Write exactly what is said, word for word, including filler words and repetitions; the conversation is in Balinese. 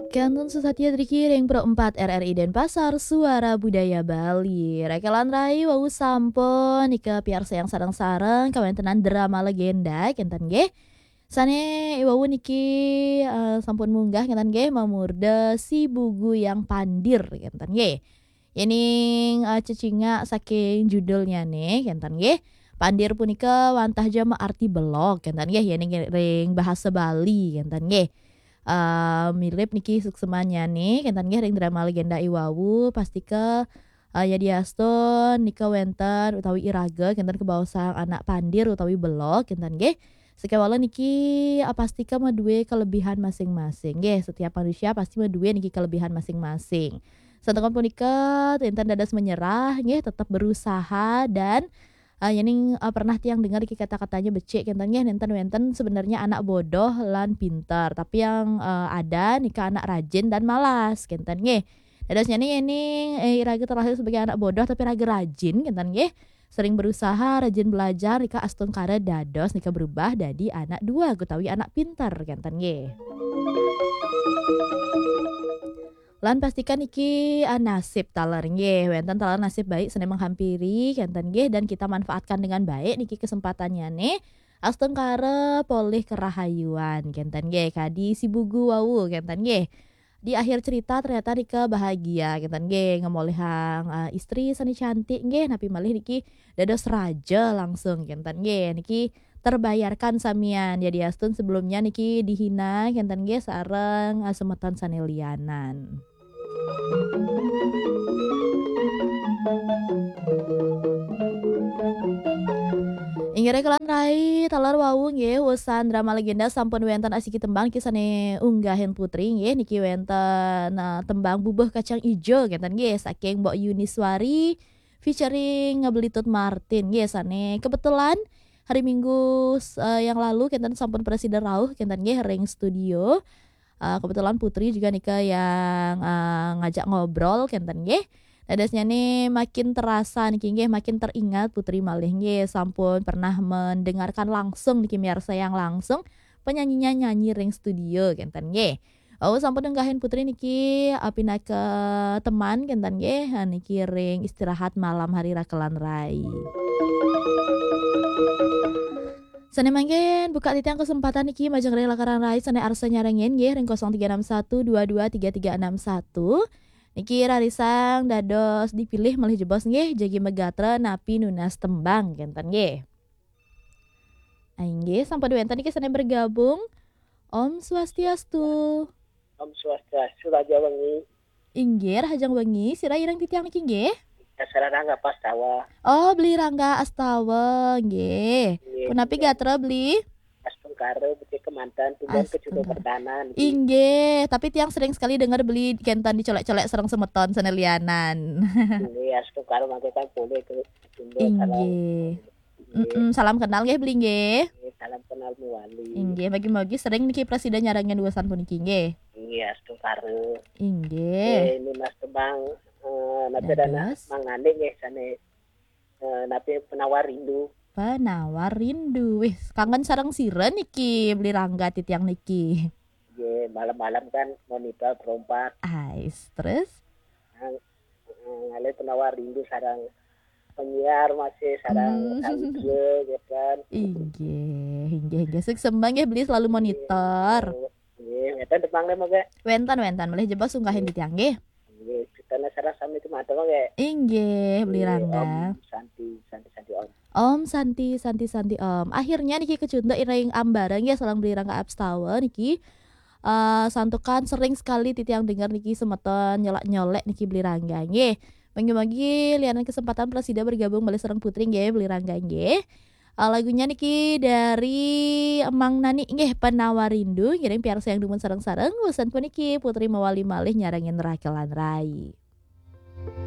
Kantun susatia driki ring Pro empat R R I Denpasar, Suara Budaya Bali. Rakelan rai wau sampun nika piarsayang sareng-sareng kawentenan drama legenda kenten nggih. Sane wau niki, eh, sampun munggah kenten nggih, mamurda Si Bugu Yang Pandir kenten nggih. Yening, eh, cecingak saking judulnyane kenten nggih. Pandir punika wantah ja maarti belog kenten nggih, yening ring bahasa Bali kenten nggih. Eh, mirip niki suksemannyane kenten nggih ring drama legenda iwau, pastika, eh, yadiastun nika wenten utawi iraga kenten kabaosang anak pandir utawi belog kenten nggih. Sekewala niki, eh, pastika madue kelebihan masing-masing nggih. Setiap manusia pasti madue niki kelebihan masing-masing. Santukan punika, enten dados menyerah nggih, tetap berusaha dan, eh, yening, eh, pernah tiang dengar iki kata-katanya becik kenten nggih, nenten wenten sebenarnya anak bodoh lan pinter, tapi yang, eh, ada nika anak rajin dan malas kenten nggih. Dadosnyane yening, eh, iraga terlahir sebagai anak bodoh tapi raga rajin kenten nggih. Sering berusaha, rajin belajar, nika astungkara dados nika berubah dadi anak dua utawi anak pinter kenten nggih. Lan pastikan niki, ah, nasib taler nggih, wenten taler nasib baik sane menghampiri kenten nggih, dan kita manfaatkan dengan baik niki kesempatannyane. Astungkara polih kerahayuan kenten nggih, kadi Si Bugu wau kenten nggih. Di akhir cerita ternyata nika bahagia kenten nggih, ngemolihang, ah, istri sane cantik nggih, napi malih niki dados raja langsung kenten nggih. Niki terbayarkan samian. Yadiastun sebelumnya niki dihina kenten nggih sareng, ah, semeton sane lianan. Inggih rakelan rai, taler wau nggih, usan drama legenda sampun wenten asiki tembang niki sane unggahin Putri nggih, niki wenten, ah, tembang Bubuh Kacang Ijo kenten nggih, saking Mbok Yuniswari featuring Belitut Martin nggih, sane kebetulan hari Minggu, eh, yang lalu kenten sampun prasida rauh kenten nggih ring studio. Eh, kebetulan Putri juga nika yang, eh, ngajak ngobrol kenten nggih. Dadosnyane makin terasa niki nggih, makin teringat Putri malih nggih, sampun pernah mendengarkan langsung niki, miarsayang langsung penyanyinya nyanyi ring studio kenten nggih. Oh, sampun nenggahin Putri niki, eh, pinaka teman kenten nggih, eh, niki ring istirahat malam hari rakelan rai. Sane mangkin buka titiang kesempatan niki majeng ring rakelan rai sane arsa nyarengin nggih ring kosong tiga enam satu dua dua tiga tiga enam satu. Niki rarisang dados dipilih malih jebos nggih, jagi magatra napi nunas tembang kenten nggih. Ah, inggih, sampun wenten niki sane bergabung. Om Swastiastu. Om Swastiastu, Raja Wengi. Inggih, rahajeng wengi, sira ireng titiang niki nggih? Dasara Rangga Pastawa. Oh, Beli Rangga Astawa, nggih. Nggih, punapi nggih. Gatra Beli? Astungkara becik kemanten, tumbas Astungkara. Kejuta pertahanan. Inggih, tapi tiang sering sekali dengar Beli kenten dicolek-colek sareng semeton sane lianan. Nggih, astungkara mangke kan boleh ke Sunda. Inggih. Salam. Mm-mm, salam kenal nggih Beli nggih. Nggih, salam kenal mawali. Inggih, mugi-mugi sering niki prasida nyarengin wesan puniki nggih. Nggih, astungkara. Inggih. Nggih, ini Mas Tembang, eh, napa dana Dados. Mangane nggih sane, eh, napa penawar rindu. Penawar rindu. Wih, kangen sareng sira niki Beli Rangga titiang niki. Nggih, malam-malam kan monitor Pro empat. Ais, terus? Nah, eh, ngalih penawar rindu sareng penyiar masih sareng Hmm. Kang Ije, gitu kan. Inggih, inggih, inggih. Suksma nggih Beli selalu monitor. Nggih, wenten tepang le mangke. Wenten, wenten. Malih jebos unggahin titiang nggih. Nggih, kita sareng sami tumatur mangke. Inggih, Beli Nggih, Rangga. Om Santi, Santi, Santi, Om. Om Santi, Santi, Santi, Om. Akhirnya niki kecunduk ring ambara nggih sareng Beli Rangga Astawa niki. Eh, santukan sering sekali titiang dengar niki semeton nyolek-nyolek niki Beli Rangga nggih. Mugi-mugi lianan kesempatan prasida bergabung malih sareng Putri nggih Beli Rangga nggih. Eh, lagunya niki dari Emang Nani nggih, Penawar Rindu, ngiring piarsayang dumun sareng-sareng. Wusan puniki Putri mawali malih nyarengin rakelan rai.